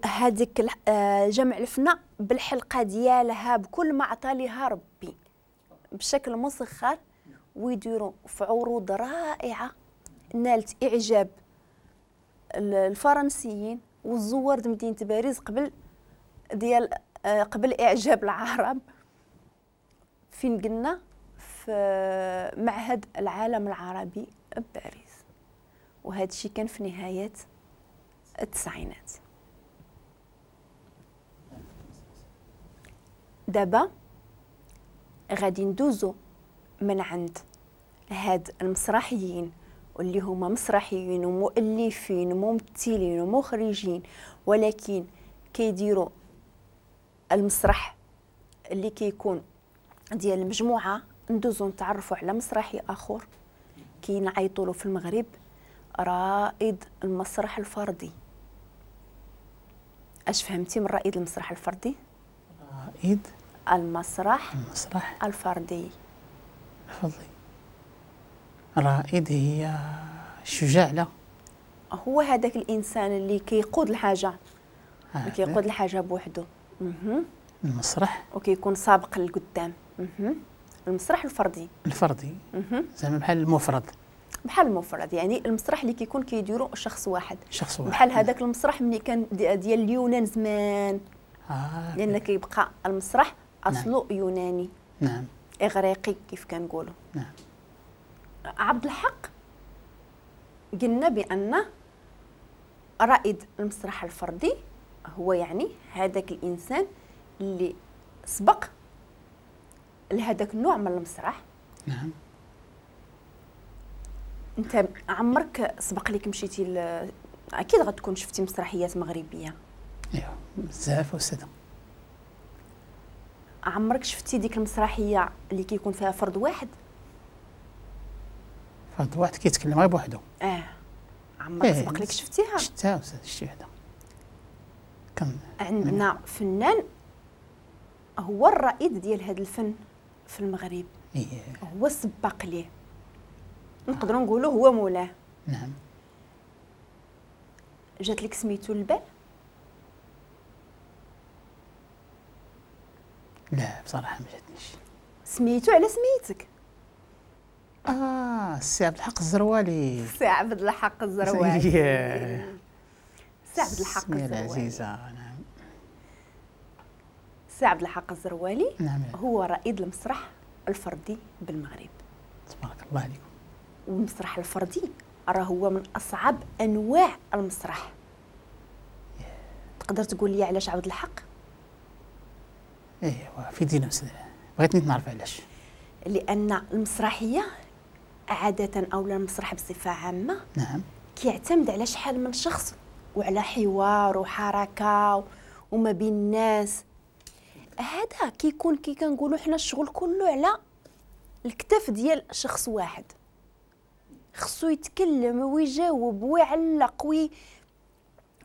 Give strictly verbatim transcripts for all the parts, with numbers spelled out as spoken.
هذيك جمع الفنا بالحلقة ديالها بكل ما عطى لها ربي بشكل مسخر، ويديروا في عروض رائعة نالت اعجاب الفرنسيين والزوار مدينة باريس قبل ديال قبل اعجاب العرب. فين قلنا؟ في معهد العالم العربي بباريس، وهذا الشيء كان في نهاية التسعينات. دابا غادي ندوزو من عند هاد المسرحيين واللي هما مسرحيين ومؤلفين وممثلين ومخرجين، ولكن كيديروا المسرح اللي كيكون ديال المجموعة. ندوزو نتعرفوا على مسرحي اخر كينعيطوا له في المغرب رائد المسرح الفردي. اش فهمتي من رائد المسرح الفردي؟ رائد المسرح المسرح الفردي. الفردي. رائد هي الشجاع، لا هو هذاك الانسان اللي كيقود الحاجة، اللي كيقود الحاجة بوحدو. المسرح وكيكون سابق للقدام. المسرح الفردي. الفردي زعما بحال المفرد. بحال المفرد، يعني المسرح اللي كيكون كيديرو شخص واحد. شخص واحد بحال هذاك المسرح ملي كان ديال اليونان زمان. آه. لان كيبقى المسرح اصله نعم. يوناني. نعم. اغريقي كيف كنقولوا. نعم. عبد الحق قلنا بان رائد المسرح الفردي هو يعني هذاك الانسان اللي سبق لهذاك النوع من المسرح. نعم. انت عمرك سبق لك مشيتي ل... اكيد غتكون شفتي مسرحيات مغربية. ايوا بزاف استاذه. عمرك شفتي ديك المسرحية اللي كيكون فيها فرد واحد؟ فرد واحد كيتكلم غير بوحدو. اه عمرك إيه سبق لك شفتيها؟ شفتها استاذ، شتي وحده. كان عندنا فنان هو الرائد ديال هذا الفن في المغرب. إيه. هو السباق ليه، نقدروا نقولوا هو مولاه. نعم. جات لك سميتو البال؟ لا بصراحة ما جاتنيش. سميتو على سميتك؟ اه السي عبد الحق الزروالي. السي عبد الحق الزروالي. السي عبد الحق الزروالي العزيزة. نعم. السي عبد الحق الزروالي. نعم. هو رائد المسرح الفردي بالمغرب. تبارك الله عليكم. والمسرح الفردي راه هو من اصعب انواع المسرح. تقدر تقول لي علاش عبد الحق؟ ايوا في دينا بغيتني نعرف علاش. لان المسرحية عادة او المسرح بصفة عامة نعم كيعتمد على شحال من شخص وعلى حوار وحركه وما بين الناس. هذا كيكون كي كنقولوا حنا الشغل كله على الكتف ديال شخص واحد، خصو يتكلم ويجاوب ويعلق وي...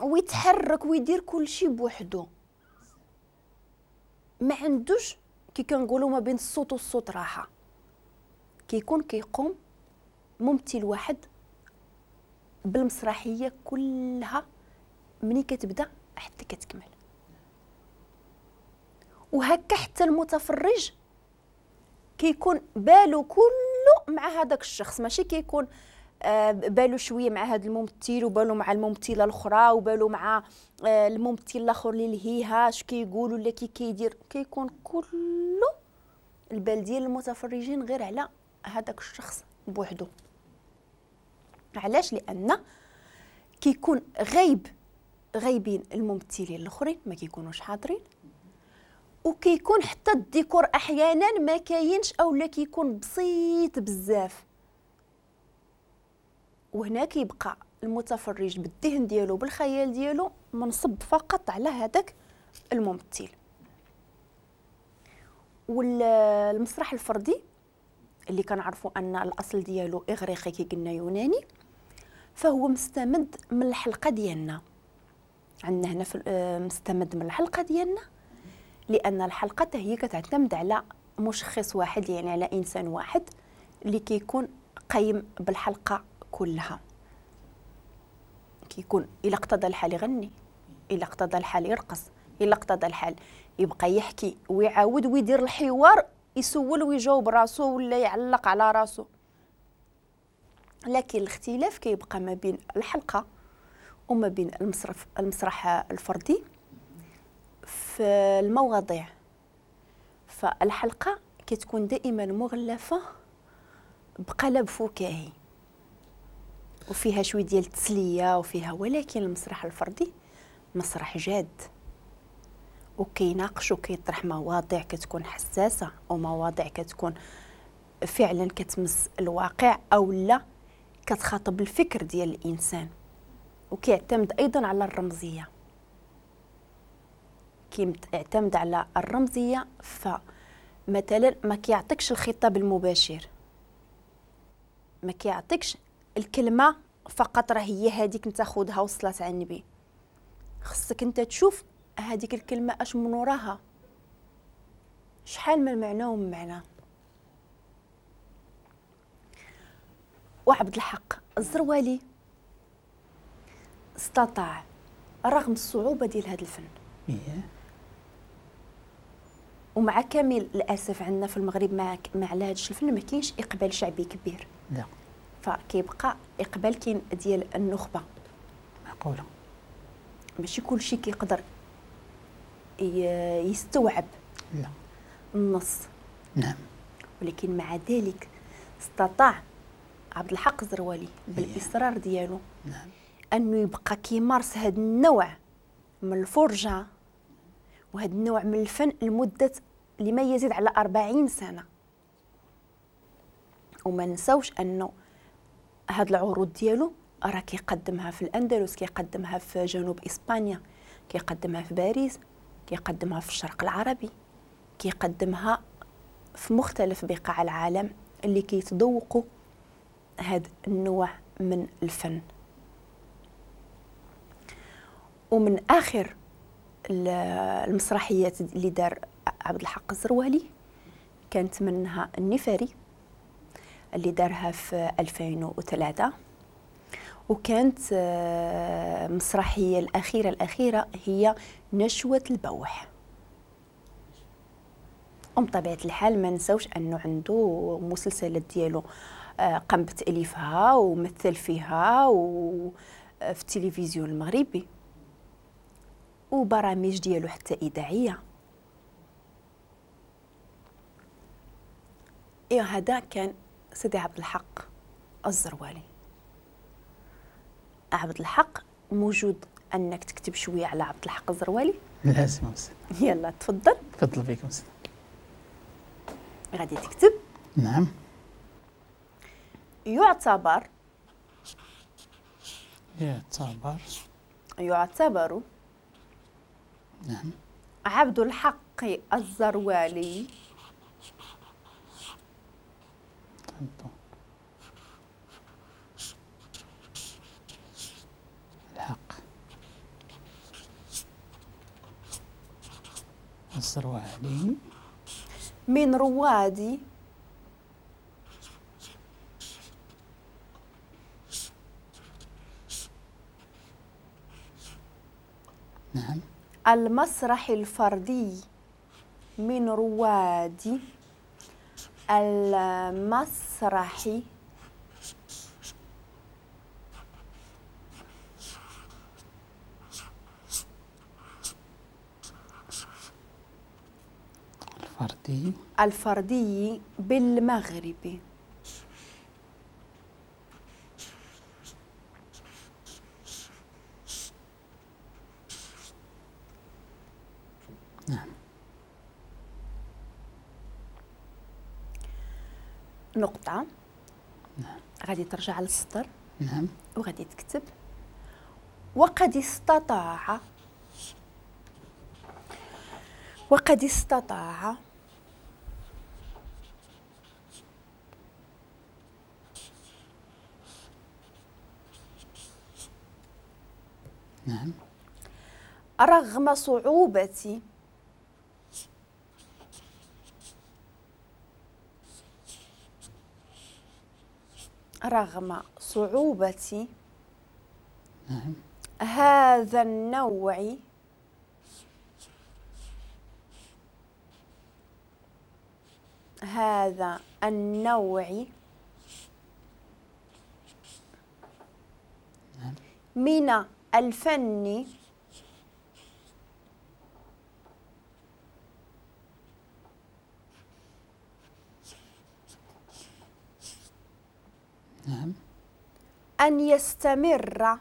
ويتحرك ويدير كل شيء بوحدو. ما عندوش كي كنقولوا ما بين الصوت والصوت راحة. كيكون كيقوم ممثل واحد بالمسرحيه كلها مني كتبدا حتى كتكمل، وهكا حتى المتفرج كيكون بالو كله مع هذاك الشخص، ماشي كيكون آه بالو شوية مع هذا الممثل وبالو مع الممثلة الاخرى وبالو مع آه الممثل الاخر اللي لهيها اش كيقول ولا كي كيدير. كيكون كله البال ديال المتفرجين غير على هذاك الشخص بوحدو. علاش؟ لان كيكون غايب غايبين الممثلين الاخرين ما كيكونوش حاضرين، وكيكون حتى الديكور احيانا ما كاينش اولا كيكون بسيط بزاف. وهنا كيبقى المتفرج بالذهن ديالو بالخيال ديالو منصب فقط على هذاك الممثل. والمسرح الفردي اللي كنعرفوا ان الاصل ديالو اغريقي كي قلنا يوناني، فهو مستمد من الحلقة ديالنا. عندنا هنا في مستمد من الحلقة ديالنا، لان الحلقة هي كتعتمد على مشخص واحد، يعني على انسان واحد اللي كيكون قايم بالحلقة كلها. كيكون الى اقتضى الحال يغني، إلا اقتضى الحال يرقص، إلا اقتضى الحال يبقى يحكي ويعاود ويدير الحوار، يسول ويجاوب راسو ولا يعلق على راسو. لكن الاختلاف كيبقى ما بين الحلقة وما بين المسرح المسرح الفردي في المواضيع. فالحلقة كتكون دائما مغلفة بقلب فكاهي وفيها شوية ديال التسلية وفيها، ولكن المسرح الفردي مسرح جاد وكيناقش وكيطرح مواضيع كتكون حساسة ومواضيع كتكون فعلا كتمس الواقع أو لا كتخاطب الفكر ديال الإنسان، وكيعتمد أيضا على الرمزية. كيعتمد على الرمزية، فمثلا ما كيعطيكش الخطاب المباشر، ما كيعطيكش الكلمة فقط راه هي هذيك انت خذها وصلت على النبي، خصك انت تشوف هذيك الكلمة اش من وراها، شحال من معنى ومن معنى. وعبد الحق الزروالي استطاع رغم الصعوبة ديال هذا الفن، ومع كامل الأسف عندنا في المغرب مع مع هذا الفن ما كاينش إقبال شعبي كبير، لا، فكيبقى إقبال كاين ديال النخبة. معقولة ماشي كلشي كيقدر يستوعب لا النص. نعم، ولكن مع ذلك استطاع عبد الحق الزروالي بالإصرار ديالو، نعم، أنه يبقى كيمارس هذا النوع من الفرجة وهذا النوع من الفن لمدة لما يزيد على أربعين سنة. وما نساوش أنه هاد العروض ديالو راه كيقدمها في الأندلس، كيقدمها في جنوب إسبانيا، كيقدمها في باريس، كيقدمها في الشرق العربي، كيقدمها في مختلف بقاع العالم اللي كيتذوقوا هاد النوع من الفن. ومن آخر المسرحيات اللي دار عبد الحق الزروالي كانت منها النفاري اللي دارها في ألفين وثلاثة، وكانت مسرحية الأخيرة الأخيرة هي نشوة البوح. وبطبيعة الحال ما نساوش أنه عنده مسلسلات ديالو قام بتأليفها ومثل فيها وفي التلفزيون المغربي، وبرامج ديالو حتى إذاعية. إيه هذا كان سيدي عبد الحق الزروالي. عبد الحق موجود أنك تكتب شوية على عبد الحق الزروالي؟ لازم أستاذ. يلا تفضل. تفضل بكم أستاذ. غادي تكتب. نعم. يعتبر يعتبر يعتبر نعم عبد الحق الزروالي الحق الزروالي من رواد نعم المسرح الفردي، من رواد المسرح الفردي الفردي بالمغرب. نعم. نقطة. نعم. غادي ترجع للسطر. نعم. وغادي تكتب وقد استطاع وقد استطاع نعم رغم صعوبة رغم صعوبة نعم هذا النوع هذا النوع من الفن نعم أن يستمر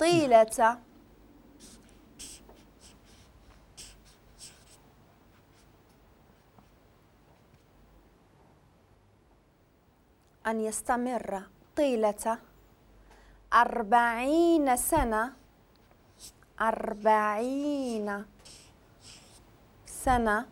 طيلة أن يستمر طيلة أربعين سنة أربعين سنة